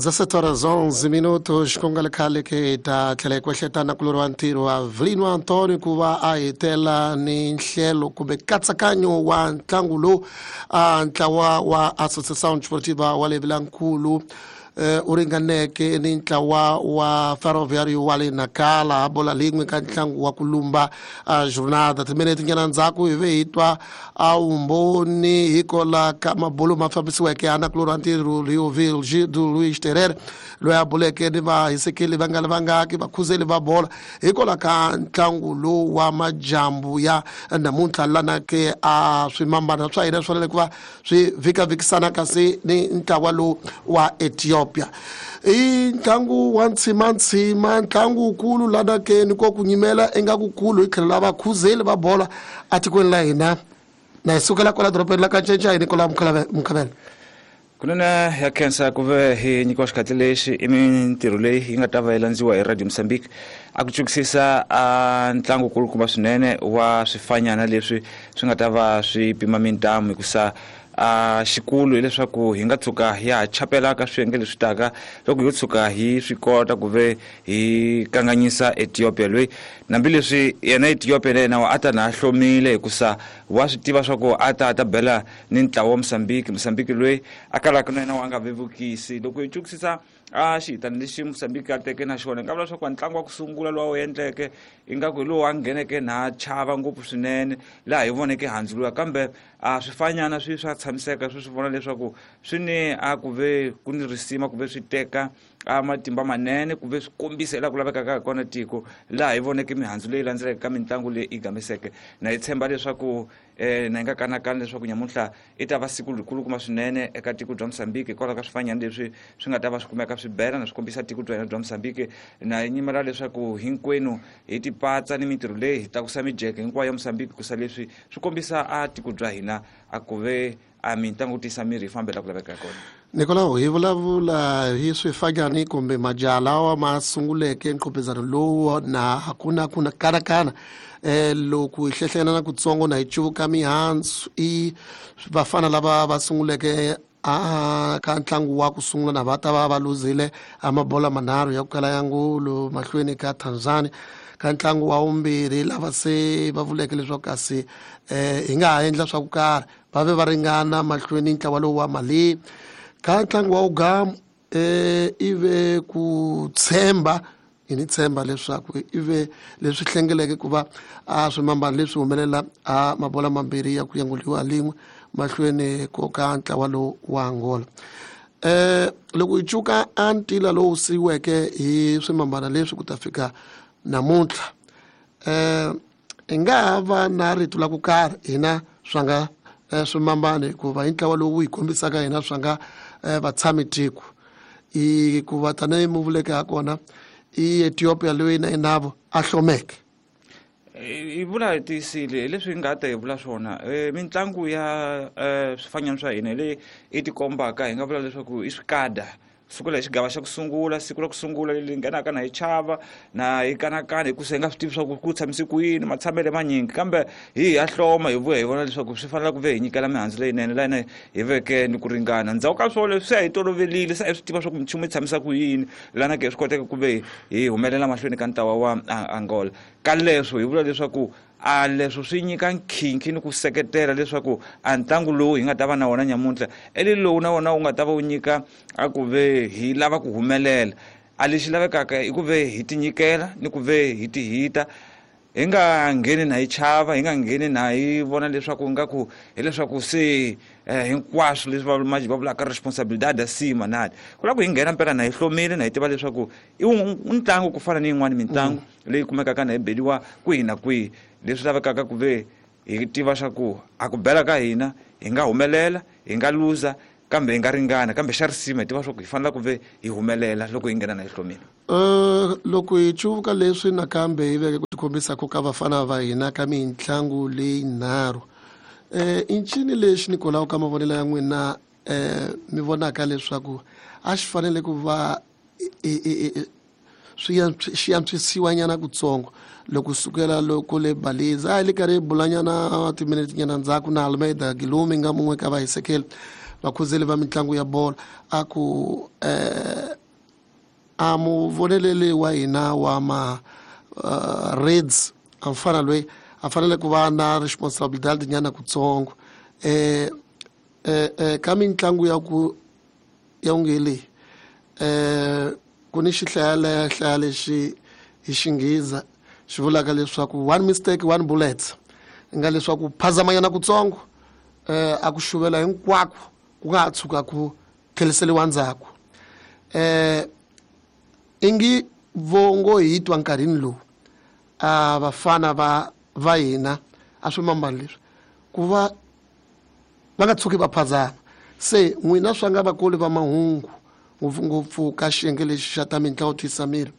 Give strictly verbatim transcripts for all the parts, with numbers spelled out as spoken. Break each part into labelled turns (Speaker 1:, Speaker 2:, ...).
Speaker 1: dezessete horas onze minutos ku nga ri khale ke hi ta tlhela hi kwehleta na kulori wa ntirho wa Vilino Antonio ku va a hetela ni nhlelo kumbe nkatsakanyo wa ntlangu lowu a ntlawa wa Associação Desportiva wa le Vilankulu u ringaneke ni ntlawa wa Ferroviário wa le Nacala bola lin'we ka ntlangu wa ku lumba jornada timinete nyana ndzhaku hi ve hi twa a vumbhoni hikola ka mabulo ma fambisiweke ana kulori wa ntirho Rio Virgílio Luiz Terere loyi a buleke ni vahisekeli va nga ri vangaki vakhuzeli va bola hikola ka ntlangu lowu wa majambu ya namuntlha lana ke a swimambana swa hina swi fanele ku va swi vhikavikisana kasi ni ntlawa lowu wa Ethiopia. I ntlangu wa ntshimantsima ntlangu wukulu lana ke ni ko ku nyimela ingaku kulu hi tlhelo la vakhuzeli va bola atikweni la hina na hi sukela kwala dorobeni la ka Ncencai Nicola Mukhavela.
Speaker 2: Kunene ya khensa ku ve hi nyikiwa xikhatsi lexi i mintirho leyi yi nga ta va yi landziwa hi Radio Mozambique a ku cukisisa a ntlangu kulukumba swinene wa swifanyana leswi swi nga ta va swi pima mintamu hikusa a xikulu hileswaku hi nga tshuka hi ha chapela ka swiyenge leswi taka loko yo tshuka hi swi kota ku ve hi kanganyisa Ethiopia loyi hambileswi yena Ethiopia na yena a ta na hlomile hikusa wa swi tiva swa ku a ta ta bela ni ntlawa wa Mozambique. Mozambique loyi a kalaka na yena wa nga vevukisi loko hi cukisisa a xihitani lexi Mozambique a teke na xona hi nga vula leswaku ntlangu wa ku sungula lowu wu endleke ingaku hi lowu a ngheneke na chava ngopfu swinene laha hi voneke handzu luya kambe a swifanyana swi swa tshamiseka swi swi vona leswaku swi ni a ku ve ku ni risima ku ve swi teka a matimba manene ku ve swi kombisa laha ku lavekaka hi kona tiko laha hi voneke mihandzu leyi landzelaka ka mitlangu leyi yi gameseke na hi tshemba leswaku eh na hi nga kanakani leswaku nyamuntlha i ta va siku rikulukumba swinene eka tiko bya Mozambique hikwalaho ka swifanyana leswi swi nga ta va swi kumeka swi bela na swi kombisa tiko bya hina bya Mozambique na hi nyimela leswaku hinkwenu hi tipatsa ni mintirho leyi hi tlakusa mijeke hinkwayo ya Mozambique kusa leswi swi kombisa a tiko bya hina a ku ve a mitlangu tisa miri yi fambela ku laveka kona.
Speaker 1: Nicolau hi vulavula hi swifanyani kumbe majaha lawa ma sunguleke nqhopezano lowu na hakuna kuna kanakana eh loko hi hlehlena na kutsongo na hi cuvuka mihandzu i vafana lava va sunguleke a ka ntlangu wa ku sungula na va ta va va luzile a mabola manharhu ya ku kala ya ngulu mahlweni ka Tanzania ka ntlangu wa vumbirhi lava se va vuleke leswaku kasi eh hi nga ha endla swa ku karhi va ve va ringana mahlweni ntlawa lowu wa Mali ka ntlangu wa ugamu eh ive ku tshemba hi ni tshemba leswaku ive leswi hlengeleke ku va a swimambana leswi humelela a mabola mambirhi ya ku yanguliwa lin'we mahlweni ko ka ntlawa lowu wa Angola. Eh loko hi cuka a ntila lowu siyiweke hi swimambana leswi ku ta fika namuntlha eh hi nga ha va na rito la ku karhi hina swa nga swimambana hikuva hi ntlawa lowu hi kombisaka hina swa nga vatshami tiko i ku va tanihi mu vuleke ha kona i Ethiopia loyi na inavo a hlomeke.
Speaker 2: Hi vula hi tiyisile hi leswi hi nga ta hi vula swona mitlangu ya swifanyana swa hina leyi i tikombaka hi nga vula leswaku i swikada sukela hi xigava xa ku sungula siku ra ku sungula leri nghenaka na hi chava na hi kanakana hikusa hi nga swi tivi swa ku ku tshamise ku yini matshamele manyingi kambe hi ha hloma hi vuya hi vona leswaku swi fanele ku ve hi nyikela mihandzu leyinene laha na hi veke ni ku ringana ndzhaku ka swona leswi se a hi tolovelile se a hi swi tiva swa ku minchumu yi tshamisa ku yini lana ke swi koteka ku ve hi humelela mahlweni ka ntlawa wa Angola ka leswo hi vula leswaku a leswo swi nyika nkhinkhi ni ku seketela leswaku a ntlangu lowu hi nga ta va na wona nyamuntlha eli lowu na wona wu nga ta va wu nyika a ku ve hi lava ku humelela a lexi lavekaka i ku ve hi tinyikela ni ku ve hi tihita hi nga ngheni na hi chava hi nga ngheni na hi vona leswaku ingaku hileswaku se hinkwaswo leswi va va vulaka responsabilidade acima nani ku lava ku hi nghena mpela na hi hlomile na hi tiva leswaku i ntlangu ku fana ni yin'wani mitlangu leyi kumekaka na hi beliwa kwihi na kwihi leswi lavekaka ku ve hi tiva swa ku a ku bela ka hina hi nga humelela hi nga luza kambe hi nga ringana kambe xa risima hi tiva swa ku hi fanele ku ve hi humelela loko hi nghena na hi hlomile.
Speaker 1: Uh, loko hi cuvuka leswi nakambe hi veke ku tikombisaka ka vafana va hina ka mitlangu leyi nharhu eh i ncini lexi Nicolau ka mavonelo ya n'wina eh mi vonaka leswaku a xi fanele ku va swi xi antswisiwa nyana kutsongo loko sukela loko le Baliza a hi le karhi hi bulanyana timinete nyana ndzhaku na Almeida Gilume nga mun'we ka vahisekeli vakhuzeli va mitlangu ya bolo a ku eh A muvoneleli wa hina wa ma uh, Reds a mfana loyi a fanele ku va na responsibilidade nyana kutsongo eh eh, eh ka mitlangu ya ku ya ungele eh ku ni xihlaya hlaya lexi hi xinghiza xi vulaka leswaku one mistake one bullet nga leswaku phazamanyana kutsongo eh a ku xuvela hinkwako ku nga ha tshuka ku tlheriseriwa ndzhaku eh ingi vongo hi twa nkarhini lowu a vafana va va hina a swi mambani leswi ku va va nga tshuki va phazama se n'wina swa nga vakoli va mahungu ngopfungopfu ka xiyenge lexi xa ta mitlangu twisa miri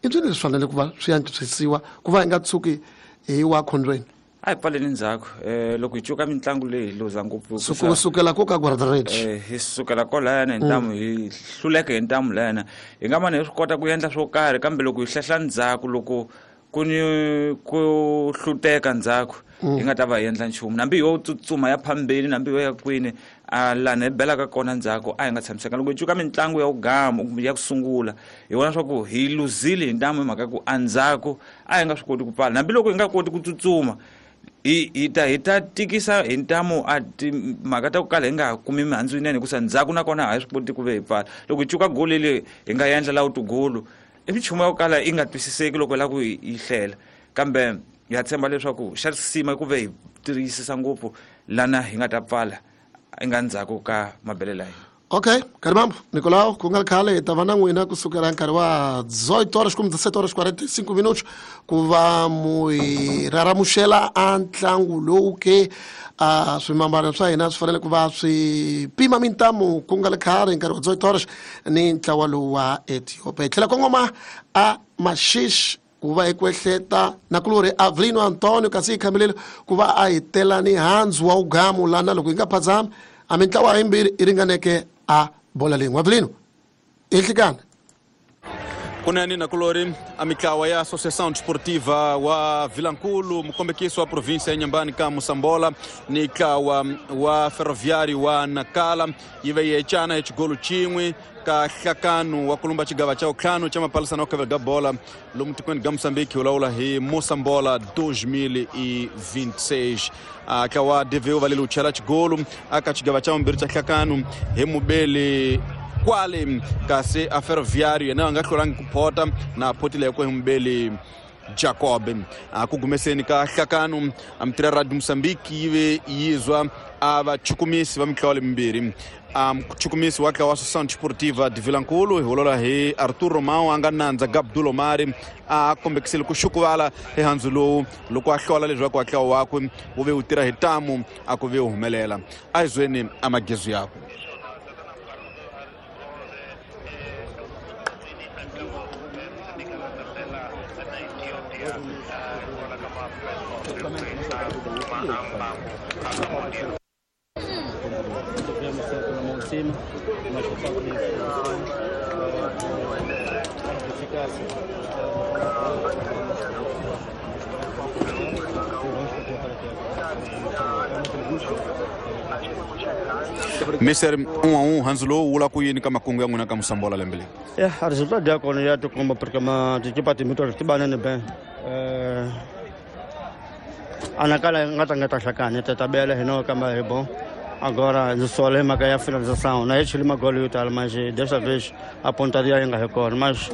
Speaker 1: i swilo leswi fanele ku va swi antswisiwa ku va hi nga tshuki hi wa khondweni
Speaker 2: a hi pfaleni ndzhaku um loko hi cuka mitlangu leyi hi luza ngopfu
Speaker 1: ku sukela ko ka guardrage
Speaker 2: um hi sukela kolayana hi ntamu hi hluleka hi ntamu layana hi nga mane hi swi kota ku endla swo karhi kambe loko hi hlehla ndzhaku loko ku ni ku hluteka ndzhaku hi nga ta va hi endla nchumu nambi yo tsutsuma ya phambeni nambi yo ya kwini a lani hi belaka kona ndzhaku a hi nga tshamiseka loko hi cuka mitlangu ya ku ya ku sungula hi vona swa ku hi luzile hi ntamu hi mhaka ku andzhaku a hi nga swi koti ku pfala hambi loko hi nga koti ku tsutsuma hi hi ta hi ta tikisa hi ntamu a timhaka ta ku kala hi nga ha kumi mihandzu yinene hikusa ndzhaku nakona a hi swi koti ku ve hi pfala loko hi cuka goli leyi hi nga endla laha tigolo i minchumu ya ku kala yi nga twisiseki loko hi lava ku yi hlela kambe ha tshemba leswaku xa risima i ku ve hi tiyisisa ngopfu lana hi nga ta pfala i nga ndzhaku ka mabelelo ya hina
Speaker 1: okay Karimambo Nicolau ku nga ri khale hi ta va na n'wina kusukela nkarhi wa dezoito horas como dezessete horas quarenta e cinco minutos ku va mu hi raramuxela a ntlangu lowu ke a swimambana swa hina swi fanele ku va swi pima mintamu ku nga ri khale hi nkarhi wa dezoito horas ni ntlawa lowu wa Ethiopia hi tlhela kongoma a Maxixe ku va hi kwehleta nakulorhi Avelino Antonio kasi hi khameleli ku va a hi tela ni handzu wa ugamu lana loko hi nga phazami a mintlawa yimbirhi yi ringaneke a bola leyi Avelino ehlikana
Speaker 3: kunene nakulori a mitlawa ya Associação Desportiva wa Vilankulu mukombekiso wa província ya Inhambane ka Moçambola ni ntlawa wa Ferroviário wa Nacala yi ve yi ecana hi xigolo xin'we ka nhlakano wa kulumba xigava xa vutlhanu xa mapalisana wa kavela ga bola lomu tikweni ga Moçambique wu lawula hi Moçambola dois mil e vinte e seis a ntlawa D V U va leli wu chela xigolo aka xigava xa vumbirhi xa nhlakano hi mubeli kwale kasi a Ferroviário yena a nga hlulangi ku phota na photile hi mubeli Jacob a ku gumeseni ka nhlakano a mitira Radio Moçambique yi ve yizwa a vachukumisi va mitlawa lemimbirhi a muchukumisi wa ntlawa wa Associação Desportiva de Vilankulu hi vulavula hi Arthur Romão a nga nandza Gabdul Omari a kombekisile ku xukuvala hi handzu lowu loko a hlola leswaku ntlawa wakwe wu ve wu tirha hi ntamu a ku ve wu humelela a hi zweni a magezu yakwe
Speaker 4: Cima, mas por falta de informação, de eficácia.
Speaker 3: Mister um a um Hanzlo wula ku yini ka makungu ya n'wina ka Moçambola lembe leri?
Speaker 4: É, a resultado ya kona ya tikomba porque ma tikipa timbirhi ti banene bem. Eh anakala nga ta nga ta hlakana ta tabela hino kamba hi bom. Agora só lema que é a finalização, na este lema gol e tal, mas desta vez a pontaria ainda record, mas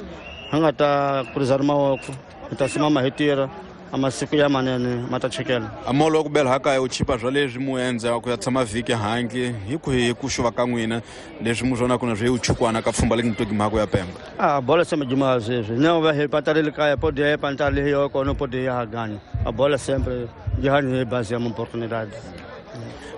Speaker 4: anga tá cruzar maoko, tá cima ma retira, a masiku ya manene mata chekela.
Speaker 3: A molo wa ku bela haka u chipa swa leswi mu endza ku ya tshama vhiki handle hi ku hi ku xuva ka n'wina leswi mu swona kuna swi u chukwana ka pfhumba le ntoki mhako ya Pemba.
Speaker 4: Ah, bola sempre demais vezes. Não vai repatar ele caia, pode ir pantar ali eu não pode ir ganhar. A bola sempre de hani base uma oportunidade.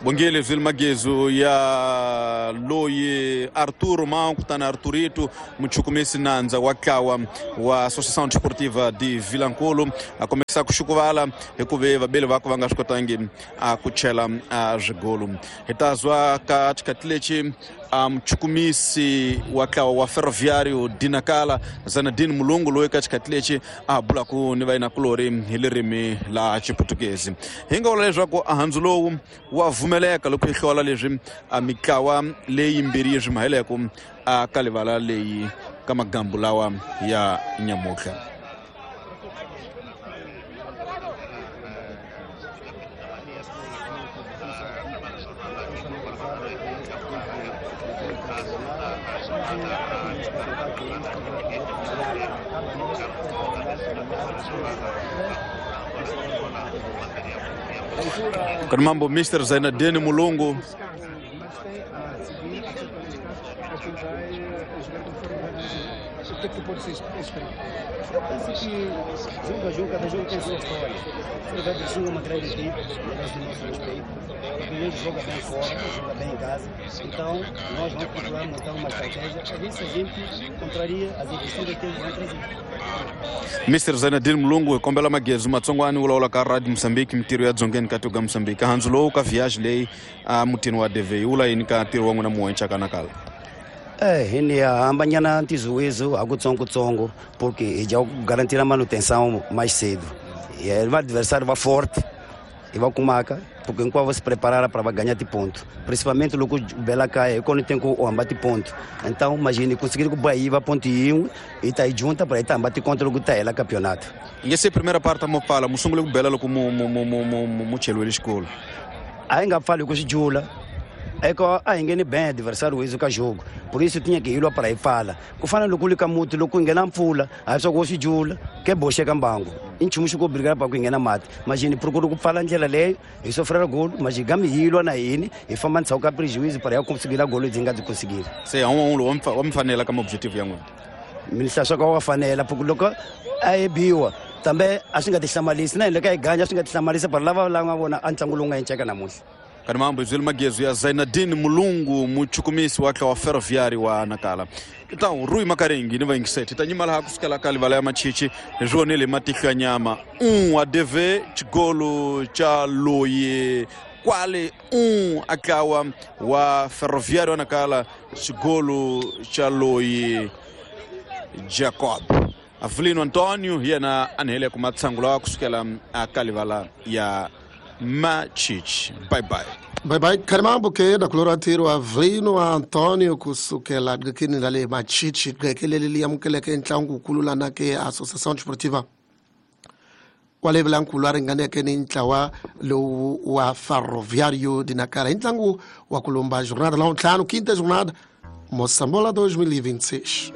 Speaker 3: Bongele Zil Magezo ya loyi Arthur Romão kutana Arthurito muchukumisi nandza wa ntlawa wa Associação Desportiva de Vilankulu a começar ku xukuvala hikuva vabeli vako va nga swi kotangi a ku chela a swigolo hi ta zwa ka xikati lexi a muchukumisi wa ntlawa wa Ferroviário de Nacala Zanadini Mulungu loyi ka xikati lexi a bulaku ni vayinakulori hi ririmi la Xiputukezi hi nga vula leswaku a handzu lowu wa vumeleka loko hi hlola leswi a mitlawa leyi yimbirhi yi swi maheleko a ka livala leyi ka magambu lawa ya nyamutlha. Kan mambo Mister Zainadine Mulungu
Speaker 5: Eu penso que jogo a jogo, cada jogo tem sua história. O Ferroviário do Sul é uma grande equipe, merece o nosso respeito. O Pinheiro joga bem fora, joga bem em casa. Então, nós vamos procurar montar uma estratégia a ver se a gente contraria as investidas que eles vão trazer.
Speaker 3: Mister Zainadine Mulungu kombela magezu matsongwani wulawula ka Radio Mozambique mitirho ya dzongeni ka tiko Mozambique handzu lowu ka viage leyi a mutini wa D V wula yini ka ntirho wa n'wina muwenca kanakala.
Speaker 5: É, hini hambanyana ntizuwizo akutsongo-tsongo porque já garantir a manutenção mais cedo. E o adversário vai forte e vai com maca, porque enquanto você se preparar para ganhar de ponto. Principalmente o Bela cai, quando tem o embate ponto. Então, imagine, conseguir que o Bahia vai ponto e um e tá aí junta para ir embate contra o Gutaela campeonato.
Speaker 3: E essa primeira parte mo fala, mo sungule ku Bela loko mo mo mo mo mo chelo escola.
Speaker 5: Ainda falo com o Jula. É que a engene bem adversário isso que jogo. Por isso tinha que ir lá para aí fala. Ku fana loko lika muti loko ingena mpfula, a só gosto jula, que boxe kambango. Inchumu ko brigar para ku ingena mati. Imagine procuro ku fala ndlela leyo, e sofrer gol, mas gami yilwa na yini, e famba ntsauka prejuízo para eu conseguir a gol dzinga de conseguir.
Speaker 3: Se é um um um fanela como objetivo yangu.
Speaker 5: Ministra só ko fanela porque loko a biwa. Também acho que tihlamalisa na leka ganha acho que tihlamalisa para lava la nga vona antlangu lowu nga enceka namuntlha.
Speaker 3: Kanamambo Zil Magezu ya Zainadine Mulungu muchukumisi wa wa Ferroviário wa Nakala. Então Rui Makarengi ni vaingisete tanyima laha kusukela ka livala ya machichi hi swonile matihlo ya nyama um a D V xigolo cha loyi kwale um akawa wa Ferroviário wa Nakala xigolo cha loyi Jacob Avelino Antonio yena anhele ku matsangulo kusukela aka livala ya Machichi. Bye bye.
Speaker 1: Bye bye. Karimambo ke da kuloratiro Avelino Antonio kusukela dikini lale Machichi kekelele liamukeleke ntlangu kulula na ke Associação Desportiva wale blankulu aringaneke ni ntlawa lo wa Ferroviário de Nacala ntlangu wa kulumba jornada la ntlhanu quinta jornada Moçambola dois mil e vinte e seis.